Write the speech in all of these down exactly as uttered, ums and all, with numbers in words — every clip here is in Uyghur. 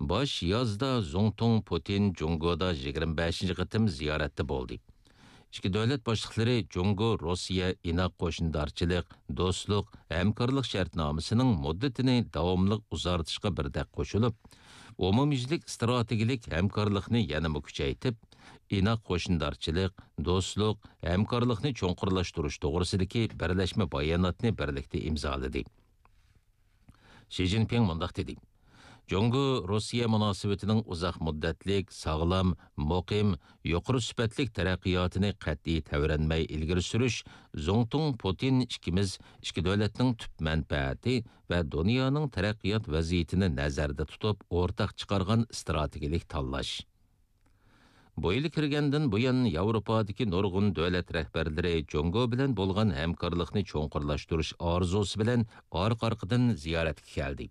باش يازدا زۇڭتۇڭ پۇتىن جۇڭگودا يىگىرمە بەشىنچى قېتىم زىيارەتتە بولدى. ئىككى دۆلەت باشلىقلىرى جۇڭگو روسىيە ئىناق قوشنىدارچىلىق، دوستلۇق، ھەمكارلىق شەرتنامىسىنىڭ مۇددىتىنى داۋاملىق ئۇزارتىشقا بىردەك قوشۇلۇپ، ئومۇميۈزلۈك ئىستراتېگىيەلىك ھەمكارلىقنى يەنىمۇ كۈچەيتىپ، ئىناق قوشنىدارچىلىق، دوستلۇق، ھەمكارلىقنى چوڭقۇرلاشتۇرۇش توغرىسىدىكى بىرلەشمە باياناتنى بىرلىكتە ئىمزالىدى. شى جىنپىڭ مۇنداق دېدى: جۇڭگو روسىيە مۇناسىۋىتىنىڭ ئۇزاق مۇددەتلىك، ساغلام، مۇقىم، يۇقىرى سۈپەتلىك تەرەققىياتىنى قەتئىي تەۋرەنمەي ئىلگىرى سۈرۈش زۇڭتۇڭ پۇتىن ئىككىمىز ئىككى دۆلەتنىڭ تۈپ مەنپەئەتى ۋە دۇنيانىڭ تەرەققىيات ۋەزىيىتىنى نەزەردە تۇتۇپ ئورتاق چىقارغان ئىستراتېگىيەلىك تاللاش. بۇ يىل كىرگەندىن بۇيان، ياۋروپادىكى نۇرغۇن دۆلەت رەھبەرلىرى جۇڭگو بىلەن بولغان ھەمكارلىقنى چوڭقۇرلاشتۇرۇش ئارزۇسى بىلەن ئارقا-ئارقىدىن زىيارەتكە كەلدى.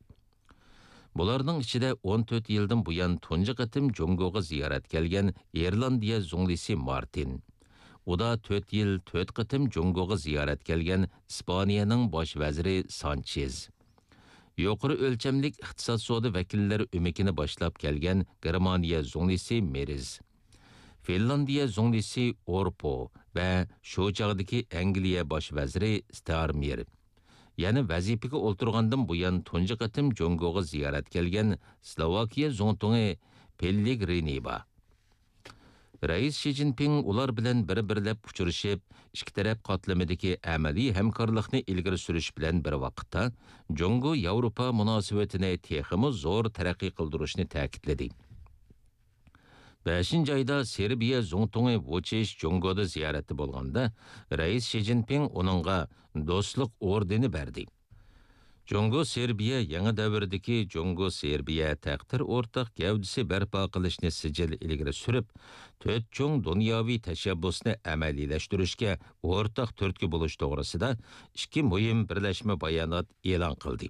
بۇلارنىڭ ئىچىدە ئون تۆت يىلدىن بۇيان تۇنجى قېتىم جۇڭگوغا زىيارەتكە كەلگەن ئىرلاندىيە زۇڭلىسى مارتىن، ئۇدا تۆت يىل تۆت قېتىم جۇڭگوغا زىيارەتكە كەلگەن ئىسپانىيەنىڭ باش ۋەزىرى سانچېز، يۇقىرى ئۆلچەملىك ئىقتىساد سودا ۋەكىللەر ئۆمىكىنى باشلاپ كەلگەن گېرمانىيە زۇڭلىسى مېرز، فىنلاندىيە زۇڭلىسى ئورپو ۋە شۇ چاغدىكى ئەنگلىيە باش ۋەزىرى ستارمېر، يەنە ۋەزىپىگە ئولتۇرغاندىن بۇيان تۇنجى قېتىم جۇڭگوغا زىيارەتكە كەلگەن سلوۋاكىيە زۇڭتۇڭى پېللېگرىنى بار. رەئىس شى جىنپىڭ ئۇلار بىلەن بىر-بىرلەپ ئۇچرىشىپ، ئىككى تەرەپ قاتلىمىدىكى ئەمەلىي ھەمكارلىقنى ئىلگىرى سۈرۈش بىلەن بىر ۋاقىتتا، جۇڭگو ياۋروپا مۇناسىۋىتىنى تېخىمۇ زور تەرەققىي قىلدۇرۇشنى تەكىتلىدى. بەشىنچى ئايدا سېربىيە زۇڭتۇڭى ۋۇچىچ جۇڭگودا زىيارەتتە بولغاندا، رەئىس شى جىنپىڭ ئۇنىڭغا دوستلۇق ئوردېنى بەردى. جۇڭگو سېربىيە يېڭى دەۋردىكى جۇڭگو سېربىيە تەقدىر ئورتاق گەۋدىسى بەرپا قىلىشنى سىجىل ئىلگىرى سۈرۈپ، تۆت چوڭ دۇنياۋى تەشەببۇسنى ئەمەلىيلەشتۈرۈشكە ئورتاق تۈرتكە بولۇش توغرىسىدا ئىككى مۇھىم بىرلەشمە بايانات ئېلان قىلدى.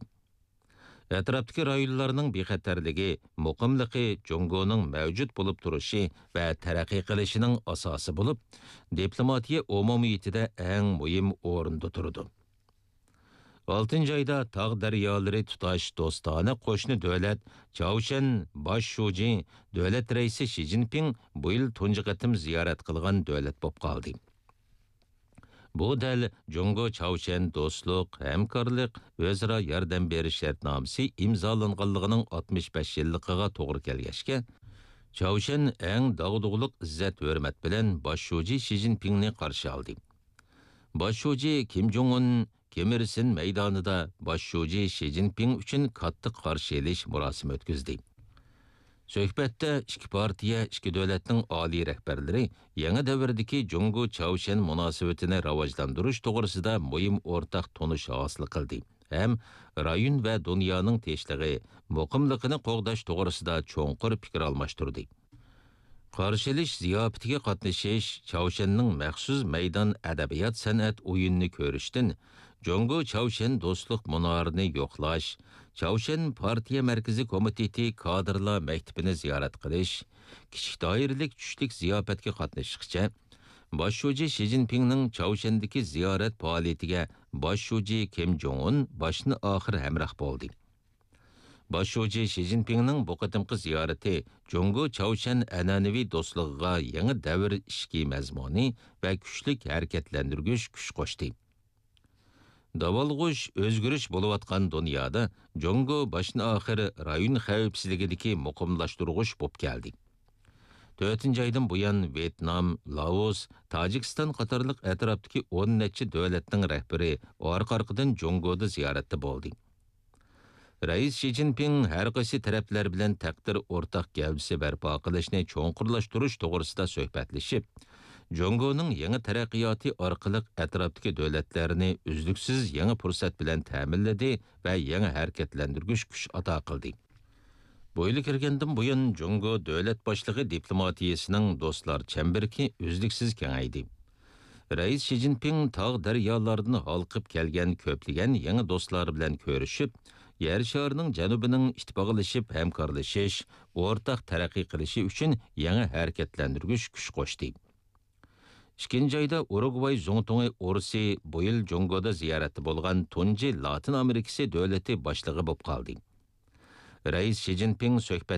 ئەتراپتىكى رايونلارنىڭ بىخەتەرلىكى، مۇقىملىقى جۇڭگونىڭ مەۋجۇت بولۇپ تۇرۇشى ۋە تەرەققىي قىلىشىنىڭ ئاساسى بولۇپ، دىپلوماتىيە ئومۇمىيىتىدە ئەڭ مۇھىم ئورۇندا تۇرىدۇ. ئالتىنچى ئايدا تاغ دەريالىرى تۇتاش دوستانە قوشنا دۆلەت چاۋشيەن باش شۇجى دۆلەت رەئىسى شى جىنپىڭ بۇ يىل تۇنجى قېتىم زىيارەت قىلغان دۆلەت بولۇپ قالدى. بۇ دەل جۇڭگو چاۋشيەن دوستلۇق، ھەمكارلىق، ئۆزئارا ياردەم بېرىش شەرتنامىسى ئىمزالانغانلىقىنىڭ ئاتمىش بەش يىللىقىغا توغرا كەلگەچكە، چاۋشيەن ئەڭ داغدۇغىلىق ئىززەت-ھۆرمەت بىلەن باش شۇجى شى جىنپىڭنى قارشى ئالدى. باش شۇجى كىم جوڭ ئۇن كىم ئىر سىن مەيدانىدا باش شۇجى شى جىنپىڭ ئۈچۈن كاتتا قارشى ئېلىش مۇراسىمى ئۆتكۈزدى. سۆھبەتتە ئىككى پارتىيە، ئىككى دۆلەتنىڭ ئالىي رەھبەرلىرى يېڭى دەۋردىكى جۇڭگو چاۋشيەن مۇناسىۋىتىنى راۋاجلاندۇرۇش توغرىسىدا مۇھىم ئورتاق تونۇش ھاسىل قىلدى ھەم رايون ۋە دۇنيانىڭ تىنچلىقى، مۇقىملىقىنى قوغداش توغرىسىدا چوڭقۇر پىكىر ئالماشتۇردى. قارشى ئېلىش زىياپىتىگە قاتنىشىش چاۋشيەننىڭ مەخسۇس مەيدان ئەدەبىيات-سەنئەت ئويۇنىنى كۆرۈشتىن، جۇڭگو چاۋشيەن دوستلۇق مۇنارىنى يوقلاش، چاۋشيەن پارتىيە مەركىزىي كومىتېتى كادىرلار مەكتىپىنى زىيارەت قىلىش، كىچىك دائىرىلىك چۈشلۈك زىياپەتكە قاتنىشىشقىچە، باش شۇجى شى جىنپىڭنىڭ چاۋشيەندىكى زىيارەت پائالىيىتىگە باش شۇجى كىم جوڭ ئۇن باشتىن ئاخىر ھەمراھ بولدى. باش شۇجى شى جىنپىڭنىڭ بۇ قېتىمقى زىيارىتى جۇڭگو چاۋشيەن ئەنئەنىۋى دوستلۇقىغا يېڭى دەۋر ئىشىكى مەزمۇنى ۋە كۈچلۈك ھەرىكەتلەندۈرگۈچ كۈچ قوشتى. داۋالغۇش، ئۆزگىرىش بولۇۋاتقان دۇنيادا جۇڭگو باشتىن ئاخىر رايون خەۋپسىزلىكىدىكى مۇقىملاشتۇرغۇچ بولۇپ كەلدى. تۆتىنچى ئايدىن بۇيان ۋيېتنام، لائوس، تاجىكىستان قاتارلىق ئەتراپتىكى ئون نەچچە دۆلەتنىڭ رەھبىرى ئارقا-ئارقىدىن جۇڭگودا زىيارەتتە بولدى. رەئىس شى جىنپىڭ ھەر قايسى تەرەپلەر بىلەن تەقدىر ئورتاق گەۋدىسى بەرپا قىلىشنى چوڭقۇرلاشتۇرۇش توغرىسىدا سۆھبەتلىشىپ، جۇڭگونىڭ يېڭى تەرەققىياتى ئارقىلىق ئەتراپتىكى دۆلەتلەرنى ئۈزلۈكسىز يېڭى پۇرسەت بىلەن تەمىنلىدى ۋە يېڭى ھەرىكەتلەندۈرگۈچ كۈچ ئاتا قىلدى. بۇ يىل كىرگەندىن بۇيان، جۇڭگو دۆلەت باشلىقى دىپلوماتىيىسىنىڭ دوستلار چەمبىرىكى ئۈزلۈكسىز كېڭەيدى. رەئىس شى جىنپىڭ تاغ دەريالاردىن ھالقىپ كەلگەن كۆپلىگەن يېڭى دوستلار بىلەن كۆرۈشۈپ، يەر شارىنىڭ جەنۇبىنىڭ ئىتتىپاقلىشىپ ھەمكارلىشىش، ئورتاق تەرەققىي قىلىشى ئۈچۈن يېڭى ھەرىكەتلەندۈرگۈچ كۈچ قوشتى. ئىككىنچى ئايدا ئۇرۇگۋاي زۇڭتۇڭى ئورسى بۇ يىل جۇڭگودا زىيارەتتە بولغان تۇنجى لاتىن ئامېرىكىسى دۆلىتى باشلىقى بولۇپ قالدى. رەئىس شى جىنپىڭ سۆھبەت